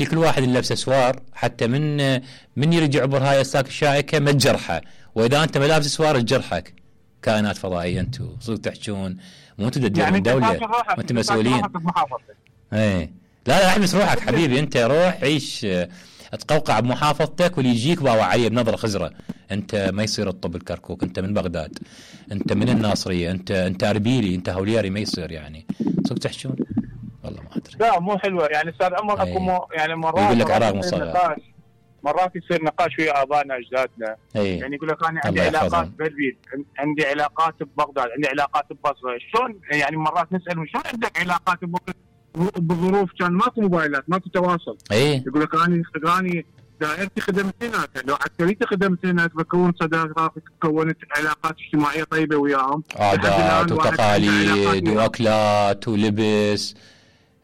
كل واحد اللي لابسه سوار حتى من يرجع عبر هاي الساك الشائكه ما تجرحه، واذا انت ما لابس سوار تجرحك. كائنات فضائيه انتم صدق تحجون، مو انتم تديرون يعني دوله، وانتم مسؤولين. ايه لا احبس روحك حبيبي، انت روح عيش تقوقع بمحافظتك واللي يجيك باوع عليه بنظره خزره. انت ما يصير الطب الكركوك، انت من بغداد، انت من الناصريه، انت اربيلي، انت هولياري، ما يصير يعني. صدق تحجون والله ما ادري. لا مو حلوه يعني استاذ عمر. اكو يعني مرات يقول لك عراق مصغر، مرات يصير نقاش ويا ابائنا اجدادنا. يعني يقول لك انا عندي علاقات باربيل، عندي علاقات ببغداد، عندي علاقات ببصره. شلون يعني مرات نسالهم شلون عندك علاقات بظروف كان ماكو موبايلات، ماكو تواصل. يقول لك انا دائرتي خدمت هناك، لو عسكريتي خدمت هناك، بكون صداقات، كونت علاقات اجتماعيه طيبه وياهم، عادات وتقاليد واكلات ولبس.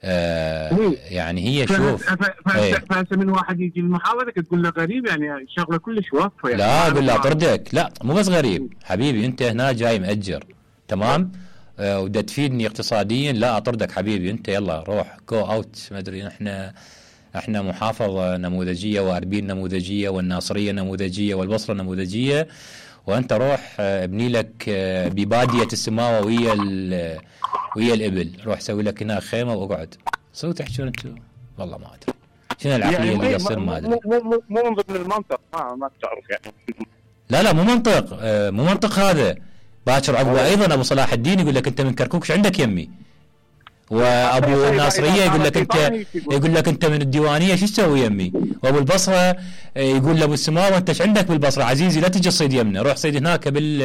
يعني هي شوف فهسه من واحد يجي المحاضره تقول له غريب، يعني شغله كلش واقفه. يعني لا اقول له اطردك، لا مو بس غريب حبيبي، انت هنا جاي مأجر تمام ودا تفيدني اقتصاديا، لا اطردك حبيبي، انت يلا روح جو اوت. ما ادري احنا محافظه نموذجيه، واربيل نموذجيه، والناصريه نموذجيه، والبصره نموذجيه، وانت روح ابني لك بباديه السماوه ويا الابل، روح سوي لك هنا خيمه واقعد. صدق تحكون انتم والله ما ادري شنو العقليه يعني اللي يصير. ما ادري، مو من ضمن المنطق، ما تعرف يعني. لا مو منطق هذا. باكر عقبه ايضا ابو صلاح الدين يقول لك انت من كركوك شو عندك يمي، وابو الناصريه يقول لك انت من الديوانيه شو تسوي يمي، وابو البصره يقول لابو السماوه انت ايش عندك بالبصره عزيزي، لا تجي تصيد يمنا، روح صيد هناك بال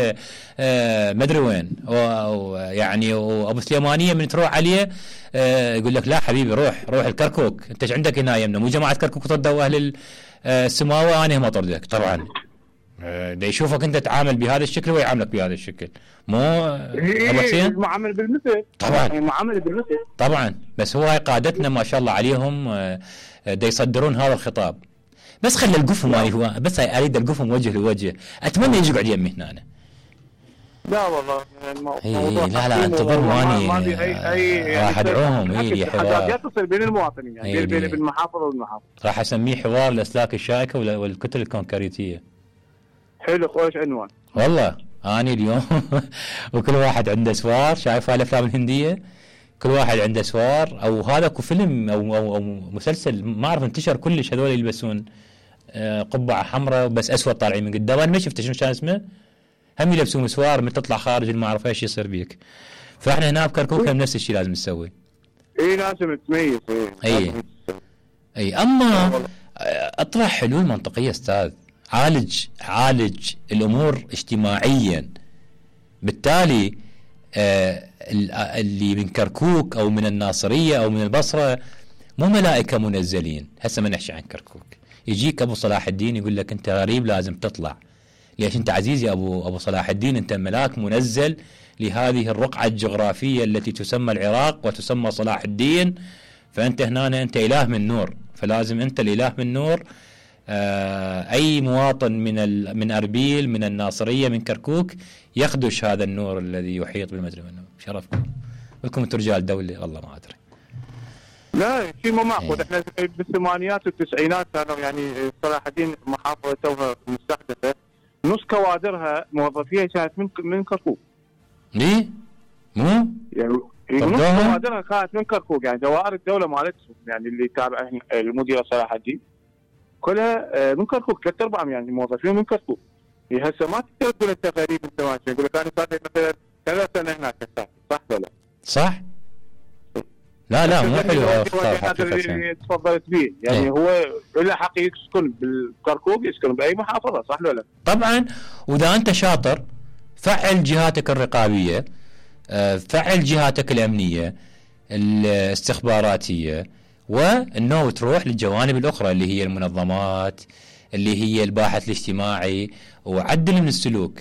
ما ادري وين. يعني وابو سليمانيه من تروح عليه يقول لك لا حبيبي روح الكركوك، انت ايش عندك هنا يمنا، مو جماعه كركوك طردوا اهل السماوه انا هم اطردك. طبعا دا يشوفك انت تعامل بهذا الشكل ويعاملك بهذا الشكل، مو ابو حسين معامل بالمثل. طبعا معامله بالمثل طبعا. بس هو هاي قادتنا ما شاء الله عليهم دا يصدرون هذا الخطاب. بس خلي القفهم هو بس اريد القفهم وجه لوجه، اتمنى يجي يقعد يمي هنا أنا. لا والله لا انتظر واني راح ادعوهم لي حوار تصير بين المواطنين، يعني بين المحافظه والمحافظه. راح اسميه حوار الاسلاك الشائكه والكتل الكونكريتيه. حلو خوش عنوان والله. اني اليوم وكل واحد عنده سوار، شايف هالافلام الهنديه كل واحد عنده سوار، او هذا اكو فيلم او مسلسل ما اعرف انتشر كلش، هذول يلبسون قبعه حمراء بس اسود طالعين من قدام، انا ما شفته شنو كان اسمه، هم يلبسون سوار من تطلع خارج ما اعرف ايش يصير بيك. فاحنا هنا بكركوك نفس الشيء لازم نسوي. لازم تميز. اي اما اطرح حلول منطقيه استاذ، عالج الامور اجتماعيا. بالتالي اللي من كركوك او من الناصريه او من البصره مو ملائكه منزلين. هسه ما نحكي عن كركوك، يجيك ابو صلاح الدين يقول لك انت غريب لازم تطلع. ليش انت عزيزي ابو صلاح الدين، انت ملاك منزل لهذه الرقعه الجغرافيه التي تسمى العراق وتسمى صلاح الدين، فانت هنا انت اله من نور، فلازم انت الاله من نور. اي مواطن من اربيل، من الناصريه، من كركوك يخدش هذا النور الذي يحيط بالمجرم. شرفكم لكم انتم رجال دوله والله ما ادري. لا شيء مو معقول. احنا بالثمانينات والتسعينات كانوا يعني صلاح الدين محافظه توها مستحدثه، نص كوادرها موظفيها كانت من كركوك. ليه؟ مو؟ يعني نص كوادرها كانت من كركوك، يعني دوائر الدوله مالتهم يعني اللي تابع المدير صلاح الدين كلها من كركوك، 3/4 يعني موظفين من كركوك. هسه ما تقدر تقول انت غريب انت ما يقول لك انا صار لي مثلا 3 سنه هناك، صح ولا؟ صح؟ لا مو حلو اللي تفضلت به، يعني هو له حق يسكن بالكركوك، يسكن باي محافظه، صح ولا؟ طبعا. واذا انت شاطر فعل جهاتك الرقابيه، فعل جهاتك الامنيه الاستخباراتيه، وانه تروح للجوانب الاخرى اللي هي المنظمات، اللي هي الباحث الاجتماعي، وعدل من السلوك.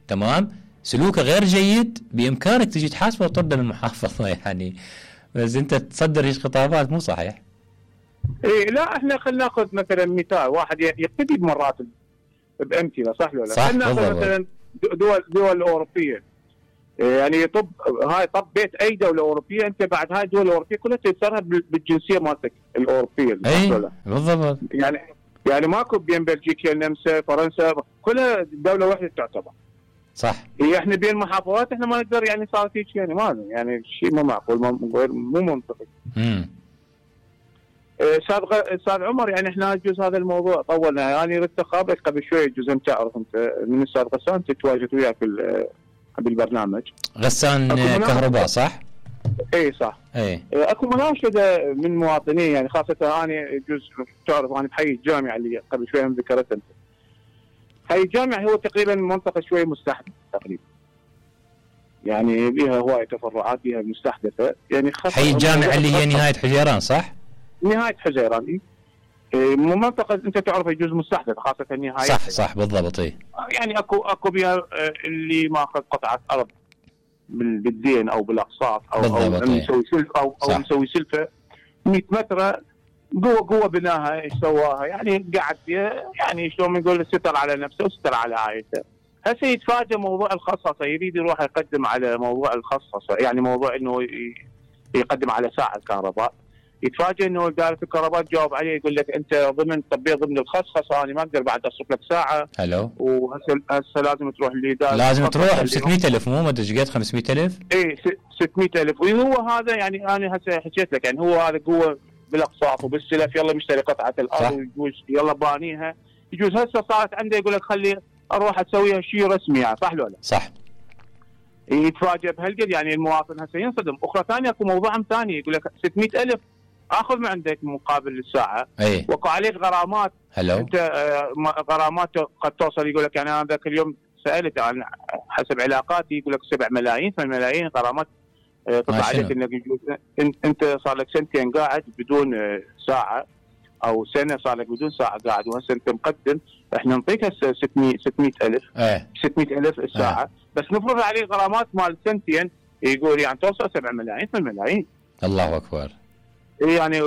تمام؟ سلوكه غير جيد بامكانك تجي تحاسبه وتطرده من المحافظه يعني. بس انت تصدر هيك خطابات مو صحيح. لا احنا خلينا ناخذ مثلا مثال واحد يقتدي بمرات بامثله، صح ولا لا؟ صح. مثلا دول اوروبيه يعني طب بيت اي دوله اوروبيه، انت بعد هاي الدول الاوروبيه كلها تكسرها بالجنسيه مالتك الاوروبيه. اي بالضبط. يعني ماكو بين بلجيكا النمسا فرنسا كلها دوله واحده تعتبر. صح. هي احنا بين محافظات احنا ما نقدر يعني صار هيك يعني ما يعني شيء مو معقول مو منطقي. استاذ عمر يعني احنا يجوز هذا الموضوع طولنا، يعني ردت خابرك قبل شوي يجوز انت تعرف انت من استاذ غسان تتواجد وياك بالبرنامج. غسان كهرباء صح؟ اي صح. اي اكو مناشده من مواطنين يعني خاصه انا يجوز تعرف انا بحي الجامعه اللي قبل شوي هم ذكرت انت. حي الجامعه هو تقريبا منطقه شوي مستحدثه تقريبا. يعني بها هوايه تفرعات بها مستحدثه يعني حي الجامعه اللي هي نهايه حزيران صح؟ نهايه حزيران منطقه انت تعرف يجوز مستحدث خاصه نهايه. صح بالضبط. يعني اكو بها اللي ماخذ قطعه ارض بالدين او بالاقساط او مسوي سلفه او مسوي سلفه 100 متر قوه بناها ايش سواها يعني قاعد يعني شلون نقول ستر على نفسه وستر على عائلته. هسه يتفاجئ موضوع الخصصه يريد يروح يقدم على موضوع الخصصه يعني موضوع انه يقدم على ساعه الكهرباء. يتفاجئ انه اداره الكهرباء تجاوب عليه يقول لك انت ضمن الخصخصه انا ما اقدر بعد اصرف لك ساعه. حلو. وهسه لازم تروح للاداره لازم تروح ب 600,000 مو ما ادري قد 500,000. اي 600,000 وهو هذا يعني انا هسه حكيت لك يعني هو هذا قوه بالاقساط وبالسلف يلا مشتري قطعه الارض ويجوز يلا بانيها يجوز هسه صارت عنده يقول لك خلي اروح اسويها شيء رسمي يعني صح لو لا؟ صح. يتفاجئ بهالقد يعني المواطن هسه ينصدم. اخرى ثانيه اكو موضوع ثاني يقول لك 600,000 اخذ من عندك مقابل الساعه وقع عليك غرامات. هلو. انت غرامات قد توصل يقول لك يعني انا ذاك اليوم سالت عن حسب علاقاتي يقول لك 7 ملايين 8 ملايين غرامات تطلع عليك انك انت صار لك سنتين قاعد بدون ساعه او سنه صار لك بدون ساعه قاعد وهسه انت مقدم احنا نعطيك هسه 600,000 600,000 الساعه بس نفرض عليه غرامات مال سنتين يقول يعني توصل 7 ملايين 8 ملايين. الله اكبر. يعني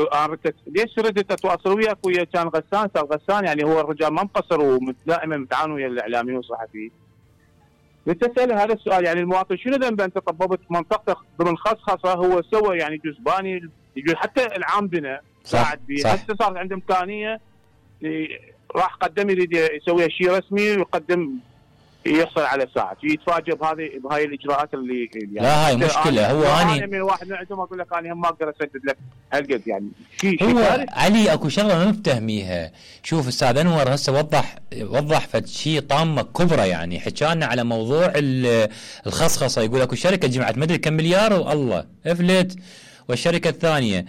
ليش ردت اتواصل وياك ويا كان غسان صار غسان يعني هو الرجال ما مقصر ودائما متعاون ويا الاعلاميين والصحفيين. لتسأله هذا السؤال يعني المواطن شنو ذنبه انت طببت منطقتك ضمن خصخصه هو سوى يعني جزباني يقول حتى العام بنا قاعد بيه هسه صارت عنده امكانيه راح قدم يريد يسوي شيء رسمي ويقدم يحصل على ساعه يتفاجئ بهاي الاجراءات اللي يعني لا هاي مشكله. هو انا من واحد من عندهم اقول لك انا هم ما اقدر اسدد لك هالقد يعني هو علي اكو شغله ما مفتهميها. شوف استاذ انور هسه وضح فد شيء طامه كبرى يعني حكانا على موضوع الخصخصه يقول اكو شركه جمعت مدري كم مليار والله افلت والشركه الثانيه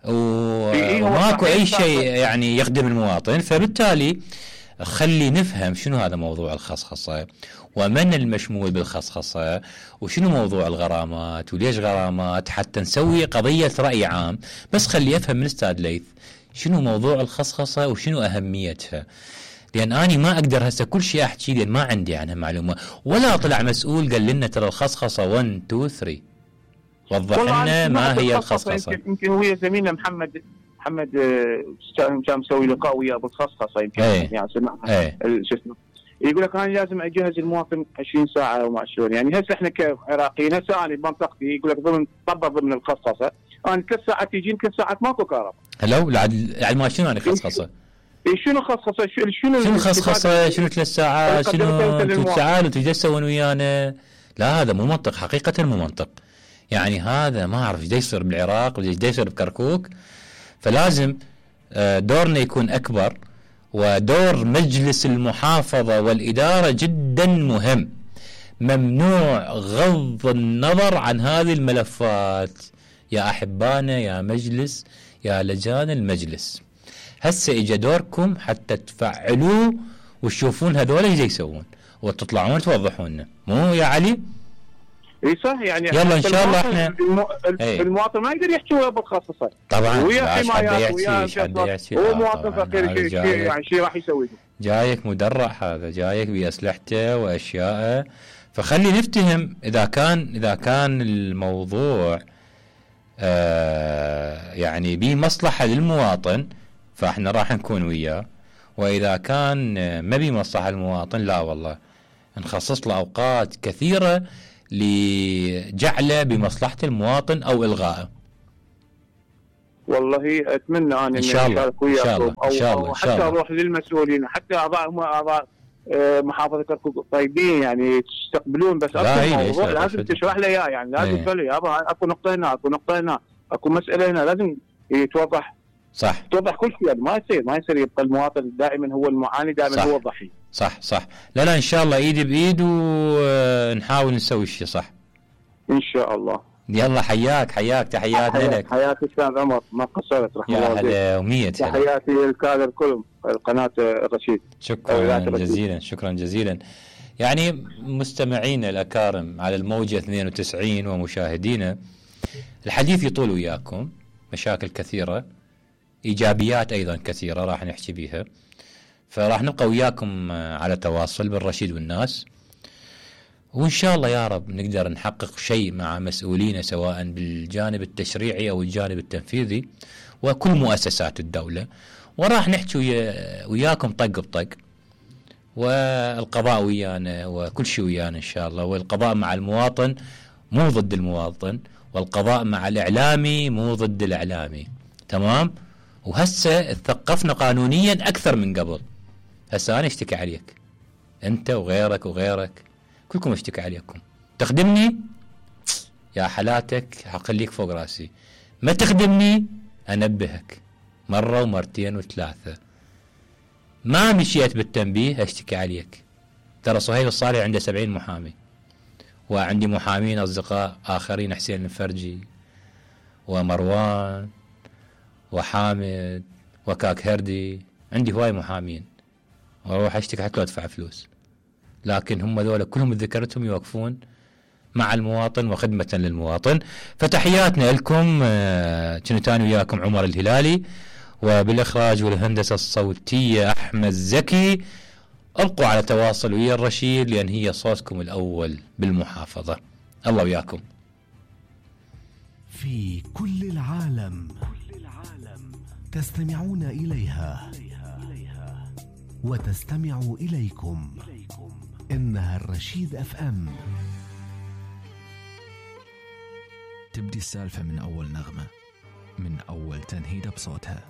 وماكو اي شيء يعني يخدم المواطن. فبالتالي خلي نفهم شنو هذا موضوع الخصخصة ومن المشمول بالخصخصة وشنو موضوع الغرامات وليش غرامات حتى نسوي قضية رأي عام. بس خلي أفهم من أستاذ ليث شنو موضوع الخصخصة وشنو أهميتها لأن أنا ما أقدر هسه كل شيء أحكي لأن ما عندي عنها معلومة ولا طلع مسؤول قال لنا ترى الخصخصة 1 2 3 وضح لنا ما هي الخصخصة. يمكن هو زميلنا محمد كان مسوي لقاء وياه بالخصخصه يمكن يعني سمعها شو اسمه يقول لك انا لازم اجهز المواطن 20 ساعه وما شلون يعني هسه احنا كعراقيين هسه انا بمنطقتي يقول لك ضمن الخصخصه انا 3 ساعات يجين 3 ساعات ماكو كهرباء. هلو يعني ما شنو يعني خصخصه؟ شنو خصخصه شنو خصخصه شنو 3 ساعات شنو تعالوا تجسون ويانا. لا هذا مو منطق حقيقه مو منطق. يعني هذا ما اعرف ايش يصير بالعراق وايش يصير بكركوك. فلازم دورنا يكون أكبر ودور مجلس المحافظة والإدارة جدا مهم. ممنوع غض النظر عن هذه الملفات يا أحبانا يا مجلس يا لجان المجلس. هسه إجا دوركم حتى تفعلوه وتشوفون هذول ايش يسوون وتطلعون توضحون لنا مو يا علي؟ اي صح يعني يلا ان شاء الله احنا المواطن ما يقدر يحكي ويا بالخصصه طبعا ويا حمايات ويا هو مواطن فقير يعني شيء راح يسوي جايك مدرع هذا جايك باسلحته واشياءه. فخلي نفتهم اذا كان الموضوع يعني بمصلحه للمواطن فاحنا راح نكون وياه واذا كان ما بمصلحه للمواطن لا والله نخصص له اوقات كثيره لجعله بمصلحة المواطن أو إلغائه؟ والله اتمنى انا ان شاء الله ان شاء الله او حتى اروح للمسؤولين، حتى اعضاء محافظه كركوك طيبين يعني تستقبلون، بس اكو لازم تشرح لي اياه، يعني لازم تقول لي اكو نقطه هنا، اكو نقطه هنا، اكو مساله هنا، لازم يتوضح. صح، توضح كل شيء، يعني ما يصير يبقى المواطن دائما هو المعاني، دائما صح. هو الضحيه. صح. لا ان شاء الله ايد بايد ونحاول نسوي الشيء صح ان شاء الله. يلا حياك تحياتنا لك. حياتي استاذ عمر، ما قصرت رحمه الله. يا هلا و100 تحياتي للكادر كلهم القناه الرشيد. شكرا جزيلا. يعني مستمعينا الأكارم على الموجة 92 ومشاهدينا، الحديث يطول وياكم، مشاكل كثيرة، إيجابيات أيضا كثيرة راح نحكي بيها، فراح نبقى وياكم على تواصل بالرشيد والناس، وإن شاء الله يا رب نقدر نحقق شيء مع مسؤولين سواء بالجانب التشريعي أو الجانب التنفيذي وكل مؤسسات الدولة، وراح نحكي وياكم طق بطق، والقضاء ويانا وكل شيء ويانا إن شاء الله. والقضاء مع المواطن مو ضد المواطن، والقضاء مع الإعلامي مو ضد الإعلامي. تمام؟ وهسه ثقفنا قانونيا أكثر من قبل. هسه أنا اشتكي عليك أنت وغيرك كلكم اشتكي عليكم. تخدمني يا حالاتك حقليك فوق راسي، ما تخدمني أنبهك مرة ومرتين وثلاثة. ما مشيت بالتنبيه اشتكي عليك. ترى صهيب الصالح عنده 70 محامي، وعندي محامين أصدقاء آخرين، حسين الفرجي ومروان وحامد وكاك هردي، عندي هواي محامين، واروح اشتكي حتى لو ادفع فلوس، لكن هم ذولا كلهم ذكرتهم يوقفون مع المواطن وخدمة للمواطن. فتحياتنا لكم. كنت أنا وياكم عمر الهلالي، وبالإخراج والهندسة الصوتية أحمد زكي. ابقوا على تواصل ويا الرشيد، لأن هي صوتكم الأول بالمحافظة. الله وياكم. في كل العالم تستمعون إليها وتستمع إليكم. إنها الرشيد FM. تبدي السالفة من أول نغمة، من أول تنهيدة بصوتها.